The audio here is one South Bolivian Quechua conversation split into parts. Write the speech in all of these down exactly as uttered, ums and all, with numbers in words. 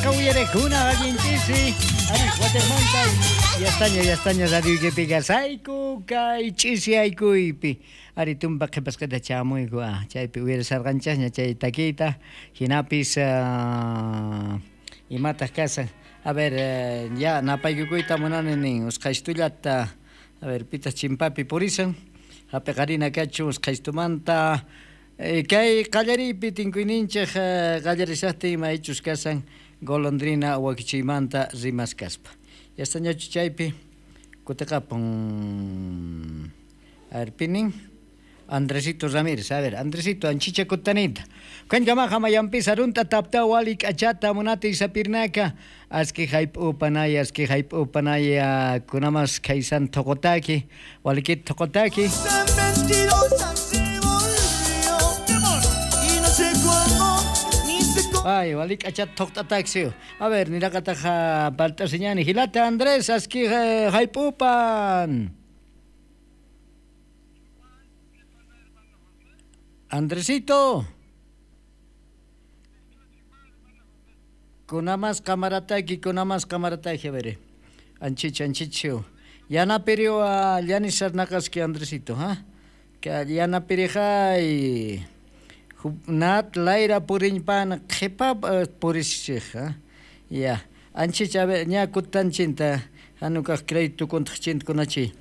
Riqsisqa uyarekuna allinchisi. Ari Guatemala yastaña yastaña radioykipi kasayku kay ch'isiyaykuypi. Ari tumpa qhipasqita chamuyku ah chaypi uyarisarqanchasña chay takiyta hinapis uh, imataq kasan. A ver, eh, ya napaykukuyta munani nin usqhaystullata. A ver, pitas chimpapi purisan. Hapiqarina kachu usqhaystumanta. Eh, kay qallariypi tinkuyninchik eh, qallarishaqtin imaychus kasan golondrina wakichiymanta rimaskaspa. Yastañachu chaypi kutiqapun. A ver, pinin Andresito Ramírez, a ver, Andresito, anchicha kutanita. Kanjamaja mayampisa runta tapta walik achata munati sapirnaka. Aski hayp upanaya, aski hayp upanaya, kunamas kaysan tokotaki, walikit tokotaki. Ay, walik achat toktataxio. A ver, niraqataja paltasiñani. Hilata Andrés, aski hayp upan. Andresito. Kunamas kamarataki, kunamas kamarataki, a ver. Anchicha, anchicho. Yanapirio a Yanis Sarnakaski, Andresito, ¿ah? Que yanapirijay. Nat laira purinpan qhipa purishij, ¿ah? Ya. Anchicha, a ver, ña kutanchinta, hanukaq crédito kontaqchinta kunachi.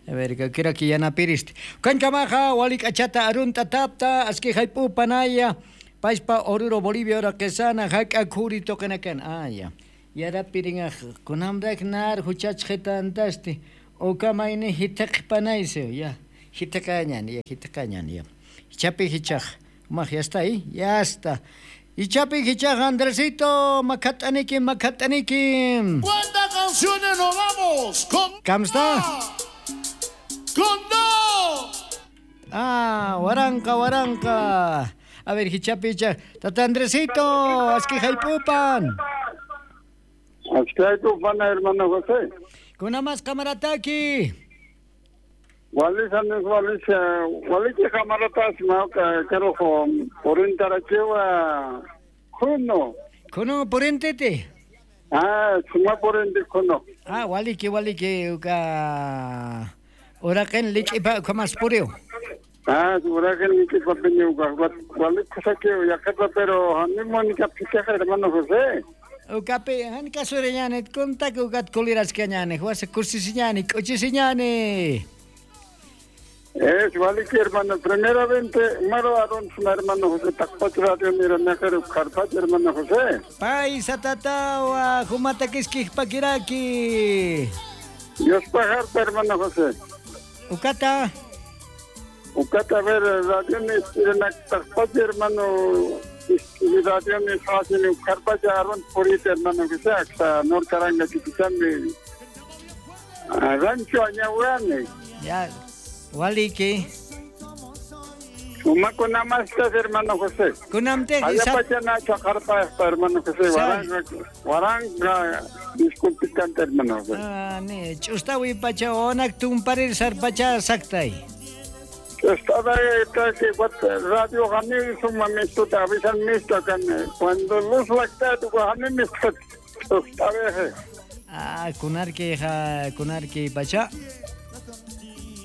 A ver, que quiero que ya napiriste. Cancamaja, walik achata arunta tapta, aski jaipu panaya, paispa oruro Bolivia ora quesana, hak akuri tokenakan. Ah, ya. Yara piringa, kunamrak nar, huchach jetantasti, okamaini hitak panaise, ya. Hitakañan, ya, hitakañan, ya. Hichapi hichaj. Maj, ya está ahí, ya está. Hichapi hichaj, Andresito, macataniki, macataniki. ¿Cuántas canciones nos vamos? Con. ¿Camsta? ¡Con dos! Ah, waranka, waranka. A ver, hichapicha. Tata Andresito, aski jaipupan. Aski jaipupan, hermano José. Kunamas kamarataki. Walis, anis, walis, waliki kamaratas, mauka, kerojo, porintarachiwa, kuno. Kuno, porintete. Ah, suma porinte, kuno. Ah, waliki, waliki, uka. Huracán lichipa kamas puriu. Ah, huracán lichipa piñuca. Walik kusaki yakata pero hanimo ni kapitaja hermano José. Ukapi han kasureñane kontak ukat kulirascañane, huasa kursisiñane, kuchisiñane. Es waliki hermano, primeramente maro aron hermano José takpach radio mira nakar karpach hermano José. Paisa tatawa, humata kiskij pakiraki. Dios pajarta hermano José. Ukata. Ukata, a ver, radio ni takpach hermano, radio ni sasini karpach aron purit hermano José, aksa norkaranga kipichami. Rancho añahuane. Ya. Waliki. Uma kunamastas hermano José. Kunamte. Allá pachana chacarpa hermano José. Waranga, waranga, disculpicante hermano José. Ah, ne, chustawi pacha onak tumparir sarpacha saktay. Estaba que radio gani suma misto te avisan misto kan cuando luz lacta tu gani misto estaba. Ah, kunarki ja kunarki pacha.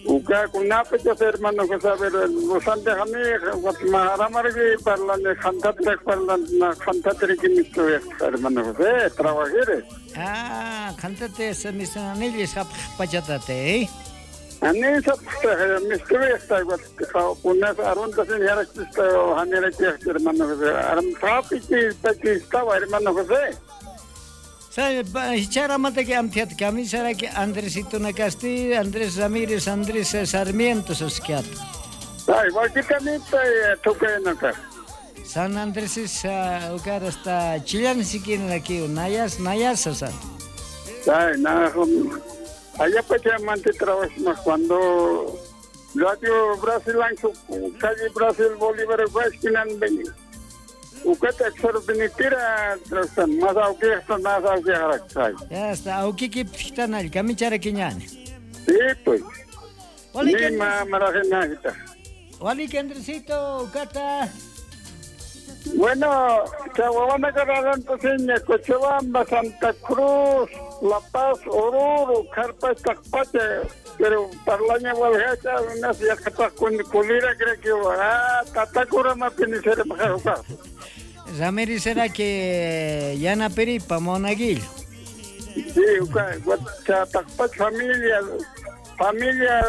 Uka kunapecha hermano José, a ver, los antes a mí, Maharamargi, parlan, Jantatrek, parlan, Jantatrek, misto, hermano José, trabajere. Ah, Jantate, se mis anillos, pachatate, ¿eh? Anis, misto, está, unas aruntas en Yarachista, Haniraki, hermano José, Aram, Papi, estaba, hermano José. Hichara que amtiat kamisara que Andresito Nakasti, Andrés Ramírez, Andrés Sarmiento sosquiat. Ay, wakitamita tukaynaka. San Andrés es ucar hasta Chillán siquiera aquí, Nayas, Nayas san. Ay, na, allá pachamante trabajo cuando Radio Brasil calle Brasil Bolívar Guasquinan beni. Ukata aksar binitira más auki hasta más auki haraksay. Ya está auki ki ptanal kamichara kiñani. Sí pues. Ni ma marajena hita. Waliki Andresito, ukata. Bueno, Chahuahua Cararanto, Cochabamba, Santa Cruz, La Paz, Oruro, Carpa, Tacpacha, pero parlaña walhacha, unas yaqapaq kulira creo que ah, tatakura mapinisera majaruka. Ramírez será que yana peripa monaguillo. Sí, Tacpacha familia, familia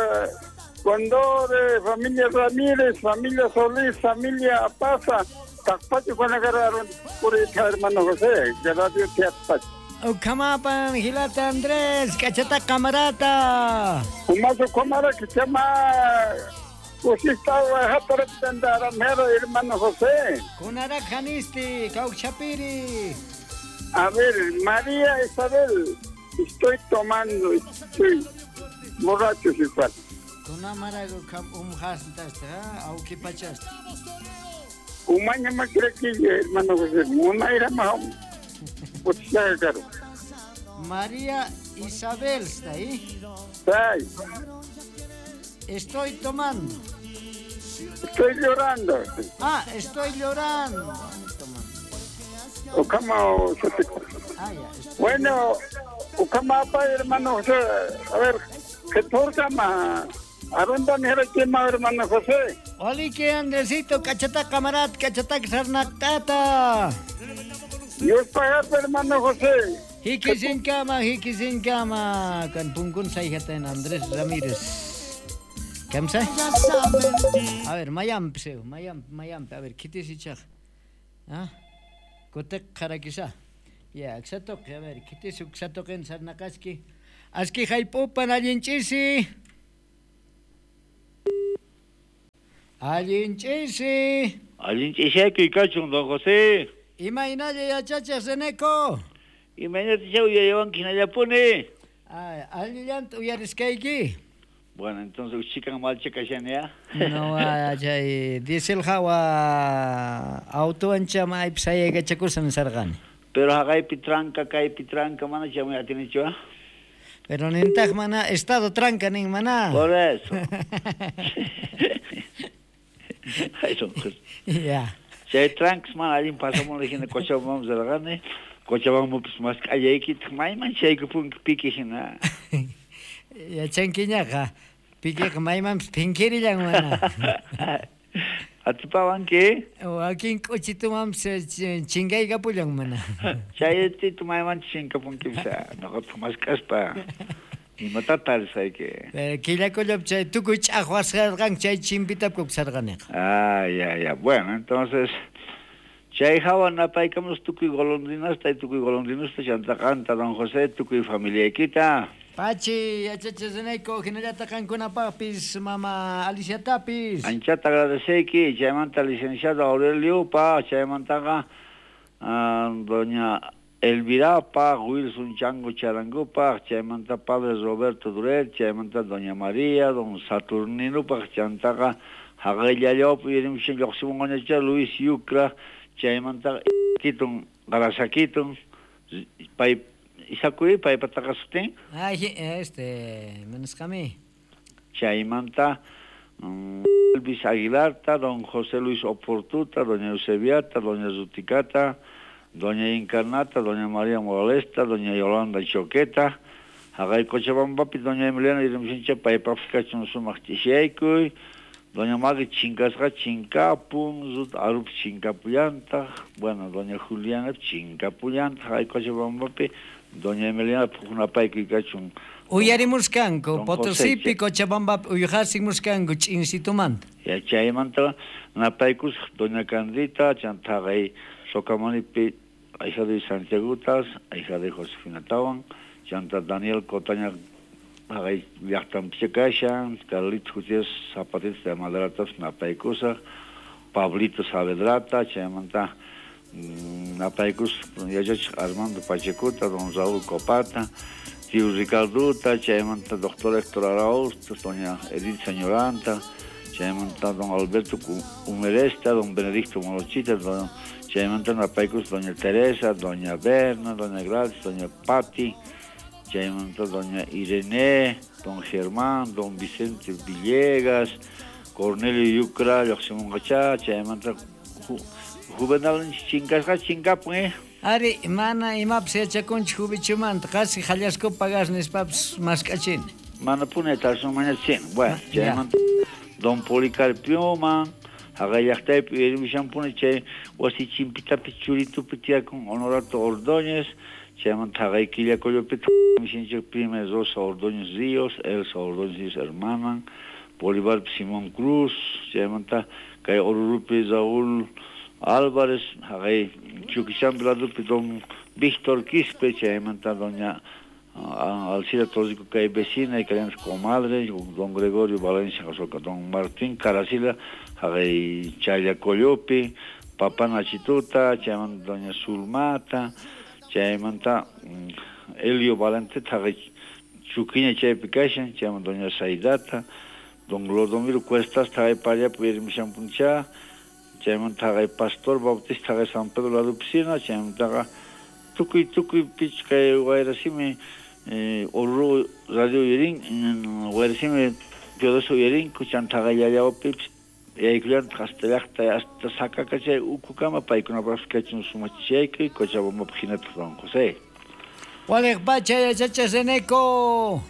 Condore, familia Ramírez, familia Solís, familia Apaza, Tacpacha con agarraron por el hermano José, de Radio Teatpacha. Ukamapan, Gilata Andrés, cachata camarata. Umazo comara que chama hermano José. Kunarajanisti, Cauchapiri. A ver, María Isabel, estoy tomando, estoy borracho igual. Kunamarago umhastasta, auquipachasta. Umaña macrequilla, hermano José, una era más. María Isabel está ahí. Sí. Estoy tomando. Estoy llorando. Ah, estoy llorando. Ocama, ah, ya, bueno, Ocama, hermano José. A ver, ¿qué torca más? ¿A dónde me hermano José? Oli, que Andresito, cachata camarat, cachata sarnactata. Dios pagate, hermano José. Jiquisin cama, jiquisin cama. Con punkun saijata en Andrés Ramírez. ¿Kamsa? A ver, mayamp seu, mayamp, mayamp. A ver, kitisichaj. ¿Ah? Kotek jarakisa. Ya, xatoq, a ver, kitis uxatoqen sarnaqaski. Aski jaypupan allinchisi. Allinchisi. Allinchisi kachun, don José. Imaynalla yachachiq Reneco. Imaynata chay uyayawanki hinallapuni. Ay, allillanta uyariskayki. Bueno, entonces uchikan malcha kashani ya. No, chay diesel hawa auto ancha maypi sayaykachakusan sarqani. Pero haqaypi tranca, kaypi tranca, mana chamuy atinichu. Pero nintaq mana estado tranca nin mana. Por eso. Ay, son Ya. Chay tranks mana allin pasamun hina Cochabamba sarqani. Cochabamba mas k'allaykitaq mayman chaykupunki piki hina. Yachankiñaqa pikiqa maymanpis phinkirillan mana. Atipawanki? Wakin k'uchitumanpis chinkaykapullan mana. Chay tito mayman chinkapunkipis noqataq mask'aspa imata tarisayki. Pero killakullapi chay tukuy ch'aqwasqarqanki chay chimpitapku sarqaniqa. Ah, ya, ya. Bueno, entonces chay hawa napaykamus tukuy golondrinasta y tukuy golondrinusta chantaqanta don José tukuy familiaykita. Pachi, yachachisunayku hinallataq qankunapaqpis mama Aliciatapis. Anchata agradeceyki, chaymanta licenciado Aurelio pa, chaymantaqa uh, doña Elvirapa, Wilson Chango Charangupa, chaymanta padre Roberto Duret, chaymanta doña María, don Saturnino pa, chantaqa haqayllallapi yurimushan lluqsimunqañacha Luis Yucra, chaymanta kitun Garasakitun, pay Isakuy paypataqa sutin. Ay, este, manisqami. Chaymanta um, Elvis Aguilarta, don José Luis Oportuta, doña Eusebiata, doña Zuticata, doña Encarnata, doña María Moralesta, doña Yolanda Choqueta, haqay Cochabambapi, doña Emiliana Irimsincha, paypapis kachun sumaq ch'ishaykuy, doña Magui chinkasqa chinkapun, Rut Arup chinkapullantaq, bueno, doña Juliana chinkapullantaq, haqay Cochabambapi, doña Emiliana pujunapaykuy kachun. Uyarimuskanku, Potosipi, Cochabambapi, uyhasimuskanku ch'insitumanta. Ya chaymanta napaykusaq doña Candita, chantaqay Socamanipi, hija de Santiagutas, hija de Josefina Tawan, chanta Daniel Cotaña, haqay llaqtanpicha kashan, Carlitos Gutiérrez Zapatista de Madratas napaykusaq, Pablito Saavedrata, chaymanta napaykus yachachiq Armando Pachecuta, don Raúl Copata, tío Ricarduta, chaymanta doctor Héctor Arauz, doña Edith Señoranta, chaymanta don Alberto Humeresta, don Benedicto Morochita, don, chaymanta napaykus doña Teresa, doña Berna, doña Gladys, doña Patti, chaymanta doña Irene, don Germán, don Vicente Villegas, Cornelio Yucra, lluqsimunqacha, chaymanta Juvenal chinkasqa chinkapun eh. Ari, mana imapas yachakunchik jubichumanta, qasi hallasku pagas nispapas mask'achini. Mana puni tasunmañachin. Bueno, chaymanta don Policarpioman, haqay llaqtaypi uyarimushanpuni chay wasi chimpitapi churitupi tiyakun Honorato Ordóñez, chaymanta haqay Quillacollopi mishinchik prima Rosa Ordóñez Ríos, Elsa Ordóñez Ríos hermanan, Bolívar Simón Cruz, chaymanta kay Orurupi Raúl Álvarez, haqay Chuquichampi ladupi don Víctor Quispe, chaymanta doña Alcira Torrico kay vecina y kay comadre, don Gregorio Valencia, don Martín Caracila, haqay Chayacoyopi, Papá Nachituta, chaymanta doña Zulmata, chaymanta Elio Valente, haqay Chuquiña chaypi kashan, chaymanta doña Saidata, don Glodomiro Cuestas, haqay Pallapi uyarimushanpuncha, chaymanta haqay Pastor Bautista, haqay San Pedro ladupsina, chaymantaqa tukuy tukuy pich kay wayrasimi eh, Oruro radio uyarin, wayrasimi Teodoso uyarinku, chanta haqay Yallawapipis yaykullantaq hasta llaqta hasta Sakaka chay ukukama paykunapaqpis kachun sumachaykuy Cochabambapaq hinataq don José. Waliq pacha yachachiq Reneco.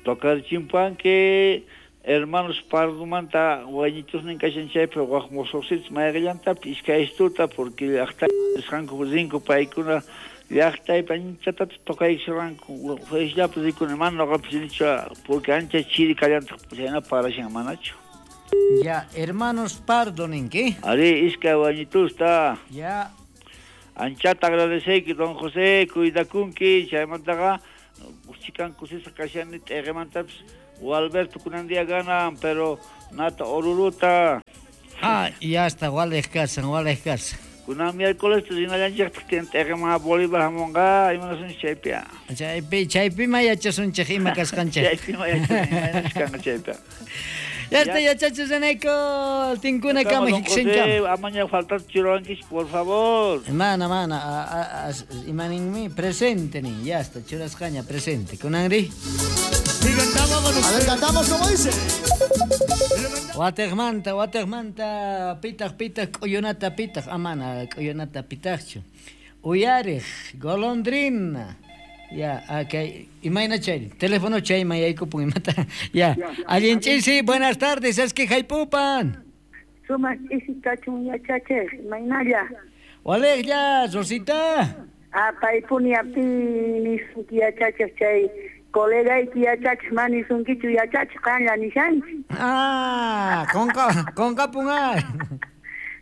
Tocarchimpanki hermanos Pardomanta wañitusnin kashan chaypi waq mosoqsitas mayqillantapis iskay istuta porque llaqta nisqanku rinku paykuna llaqtaypi anchatata tocaykushanku fayllapi rikuni mana noqapis rinichu porque ancha chiri kallantaq chayna parashan manachu. Ya, hermanos Pardo ninki. Ari, iskay wañitusta. Ya. Anchata agradeceyki don José, cuidakunki, chaymantaqa chikan kusisqa kashani t'eqemantapis Alberto kunan día ganan, pero nata Oruruta. Ah, ya está, waliq kasan, waliq kasan. Kunan miércoles rinallanchikta tiyan t'eqeman Bolívar hamunqa, imanasunchik chaypi. Chaypi, chaypi ma yachasunchik ima kasqanchik. Chaypi ma yachasunchik kanqa chaypi. Ya está, yachachiq Reneco, tinkuna kama hiksincham. Amaña faltar churankish, por favor. Mana, mana, imaninmi presente nin, ya está, churasqaña presente. Kunanri. A ver, cantamos como dice. Wateqmanta, wateqmanta, pitaq, pitaq, k'uyunata pitaq, amana, k'uyunata pitaqchu. Uyariq, golondrina. Ya, okay. Imayna chay, teléfono chayman yaykupun imata. Ya, allin ch'isi, buenas tardes, es que haypupan. Sumaq ch'isi kachun yachachiq, imaynalla. Waliqlla, Rosita. Ah, paypuni api nisunki yachachiq chay colegayki yachachiq mana nisunkichu yachachiq qanlla nishanchik. Ah, qonqa qonqapun ar.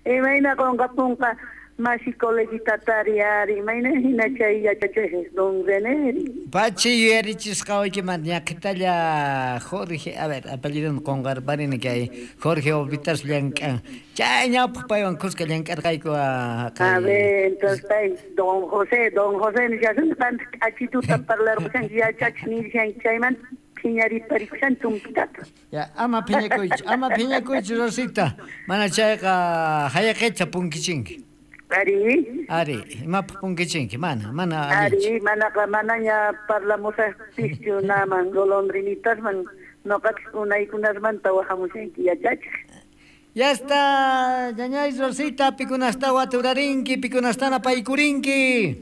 Imayna qonqapunqa masi coleguitatari ari, imayna hina chay yachachiq don Reneri. Pachi yuyarichisqa waykimanta ñaqhitalla Jorge, a ver, apellidon qonqarparini kay Jorge Ovitas llank'an. Chay ñawpaq paywan kuska llank'arqayku. A ver, entonces pay, don José, don José nishasun qanta k'achituta parlarqushanki yachachiq nishanki chaymanta phiñariparikushan tumpitata. Ya, ama phiñakuychu, ama phiñakuychu Rosita. Mana chayqa hayaqicha punkichinki. Ari. Ari, imapaq punkichinki, mana, mana allinchu. Ari, manaqa manaña parlamusaqpischu naman golondrinitasman noqapis unaykunasmanta wahamushanki yachachiq. Ya está, ñañay Rosita, pikunasta waturarinki, pikunastana paykurinki.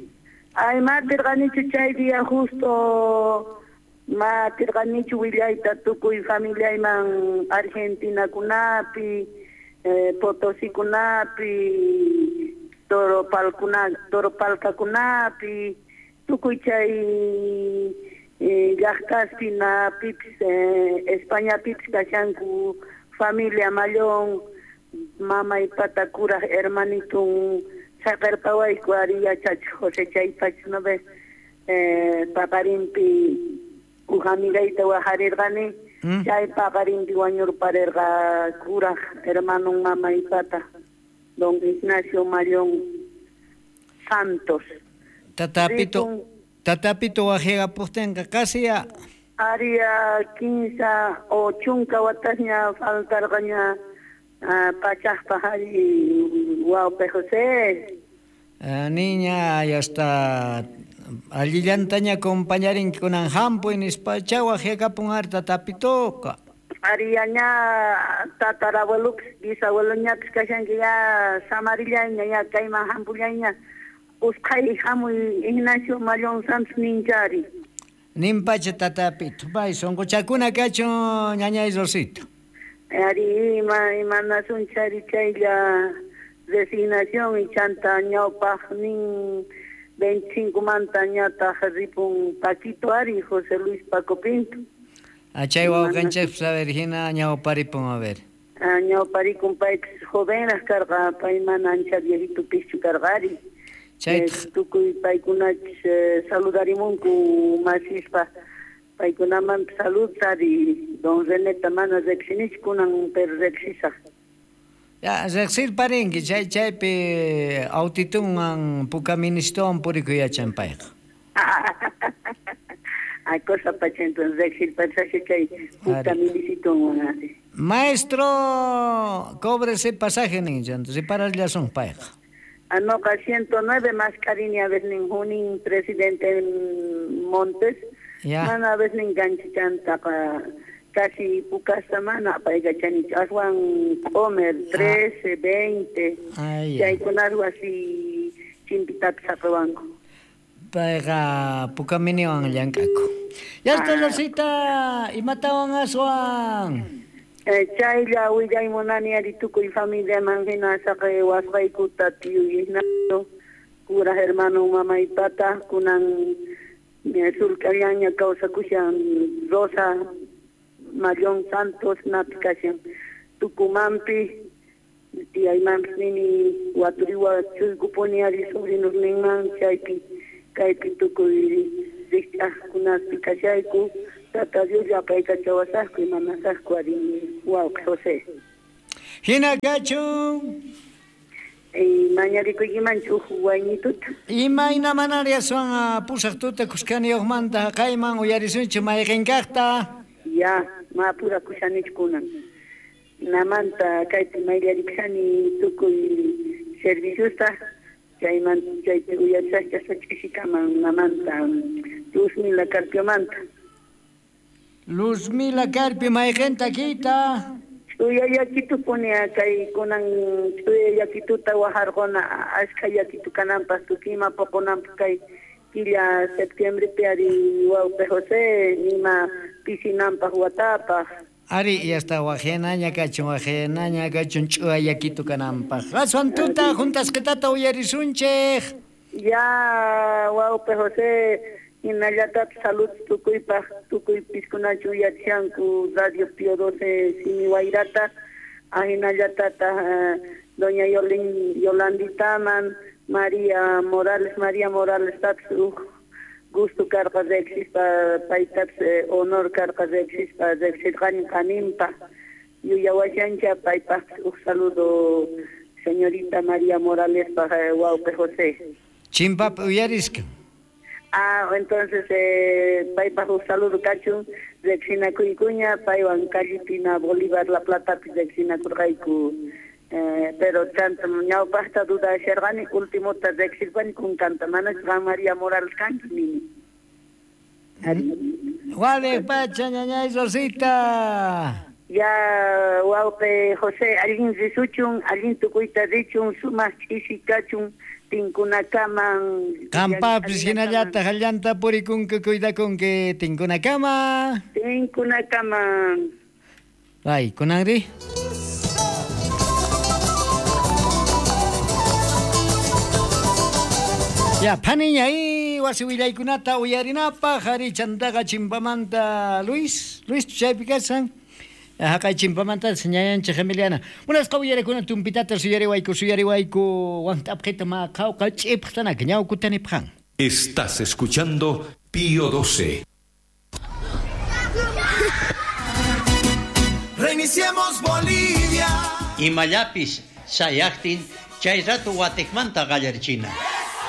Ay, ma tirqanichu chay día justo, ma tirqanichu willayta tukuy familiayman Argentinakunapi, eh, Potosikunapi, Toropalkuna, Toropalkakunapi, tukuy chay eh, llaqtaspi napipis, eh, Españapipis kashanku familia Mallón, mamay pata kuraj hermanitun saqerpawayku ari yachachiq José chaypacha no ve eh, paqarinpi uj amigayta wajarirqani, chay paqarinpi wañurparerqa kuraj hermanun mamay pata don Ignacio Mallón Santos. Tatapito, tatapito wajirapuqtinqa qasi ya. Aria kinsa o chunka watasña faltarqaña uh, pachaqpaq ari wawqi José. Uh, niña, ya está allillantaña acompañarinki kunan hampuy nispa chay wajyakapun ari tatapitoqa. Ariyaña tatarabuelupis bisabueloñapis kashanki ya samarillaña ya kayman hampullaña usqhay hamuy Ignacio Mallón Santos ninchari. Nimpacha tatapito, bay sonqochakuna kachun ñañay Rosito. Ari ima imanasun chari chaylla resignación y chanta ñawpaq nin veinticinco manta ñataq ripun Paquito ari José Luis Paco Pinto. Achay wawqanchikpas a ver hina ñawparipun a ver. Ah, ñawparikun paypis jovenraq karqa pay mana ancha viejito pischu karqa ari. Chay tukuy paykunachis saludarimunku masispa paykunaman salud ari don Reneta mana riqsinichu kunan pero riqsisaq. Ya riqsirparinki chay chaypi autitunwan puka ministowan purikuy yachan payqa. Ay cosa pacha entonces riqsirparisaq chay puka minisitunwan ari. Maestro, cóbrese pasaje nin, repararllasun payqa. Anoqa ciento nueve más cariño a veces nin presidente Montes. Ya. Mana a veces enganchantaqa casi pukasta mana apaykachanichu aswan comer trece, veinte. Chaykunaswan así chimpitapis saqewanku. Payqa pukaminiwan llank'aku. Ya está Rosita, imatawan aswan. Chaylla willay munani ari tukuy familiaman hina saqe wasqaykuta tiyuy Ignacio cura hermano mamaypata kunan sulk'allaña kawsakushan Rosa Mallón Santos napi kashan Tucumánpi tiyaymanpis nini waturiwa chuykupuni ari sobrinusninman chaypi kaypi tukuy rikch'aqkunapi kashayku. Tata Dios apaykachawasaqku imanasaqku ari wawqi José. Hina kachun. Mañarikuykimanchu huk wayñituta. Imayna manariaswan pusaq tuta kuskaniyuqmanta haqayman uyarisunchik mayqinkaqta. Ya, mapurakushanichu kunan. Namanta kaypi mayllarikushani tukuy serviciosta chaymanta chaypi uyarisaqcha ch'isikaman namanta Luzmila Carpiomanta. Luzmila Carpio mayqinta kita. Ch'uya yakitu punia kay kunan ch'uya yakituta wajarquna ashkha yakitu kananpaq tukima poqonanpaq kay killa septiembrepi ari wawqi José nima pisinanpaq watapaq. Ari ya está waqhinaña kachun waqhinaña kachun ch'uya yakitu kananpaq. Aswan tuta juntasqitata uyarisunchik. Ya wawqi José hinallatapis salud tukuypaq tukuy piskunachu uyachanku Radio Pío doce Simi Wayrata ahinallatata doña Yolin Yolanditaman María Morales María Morales tapis uj gusto karqa riqsispa paytapis honor karqa riqsispa riqsirqani qaninpa yuyawashancha paypaqpis uj saludo señorita María Moralespaq wawqi José. Chimpap uyarisqa. Ah, entonces, eh, paypaq uj saludo kachun, riqsinakuykuña, paywan Callipina Bolívar La Platapi riqsinakurqayku. Eh, pero chanta ñawpaqta dudasharqani, ultimota riqsirpani kunkanta, manachu qam María Morales kanki nini. Wale pacha ñañay Rosita. Ya wawqi José, allin risuchun, allin tukuyta richun, sumaq ch'isi kachun. Tinkunakaman. Qampapis hinallataq allanta purikunki cuidakunki tinkunakama. Tinkunakaman. Ay, kunanri. Ya, phaniña y wasi willaykunata uyarinapaq ari chantaqa chimpamanta Luis, Luis chaypi kashan. Haqay chimpamanta ñayanchik Emiliana. Munasqa uyarakuna tumpitata suyariwayku suyariwayku want'apqita maqawqa ch'ipqtanaka ñawkutanipqan. Estás escuchando Pío doce. Reiniciemos Bolivia. Imallapis sayaqtin chay ratu watikmanta qallarichina.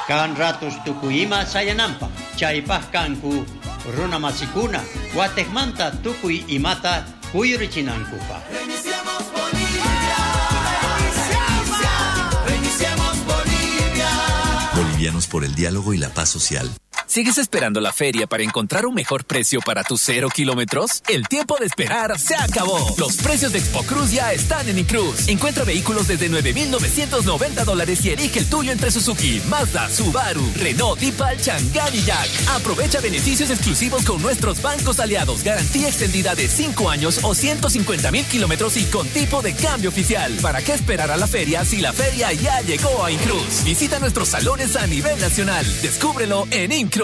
Kan ratus tukuy ima sayananpaq chaypaq kanku runa masikuna watikmanta tukuy imata kuyurichinankupaq. Reiniciemos Bolivia. Reiniciemos Bolivia. Bolivianos por el diálogo y la paz social. ¿Sigues esperando la feria para encontrar un mejor precio para tus cero kilómetros? El tiempo de esperar se acabó. Los precios de Expo Cruz ya están en Incruz. Encuentra vehículos desde nueve mil novecientos noventa dólares y elige el tuyo entre Suzuki, Mazda, Subaru, Renault, Deepal, Chang'an y Jack. Aprovecha beneficios exclusivos con nuestros bancos aliados. Garantía extendida de cinco años o ciento cincuenta mil kilómetros y con tipo de cambio oficial. ¿Para qué esperar a la feria si la feria ya llegó a Incruz? Visita nuestros salones a nivel nacional. Descúbrelo en Incruz.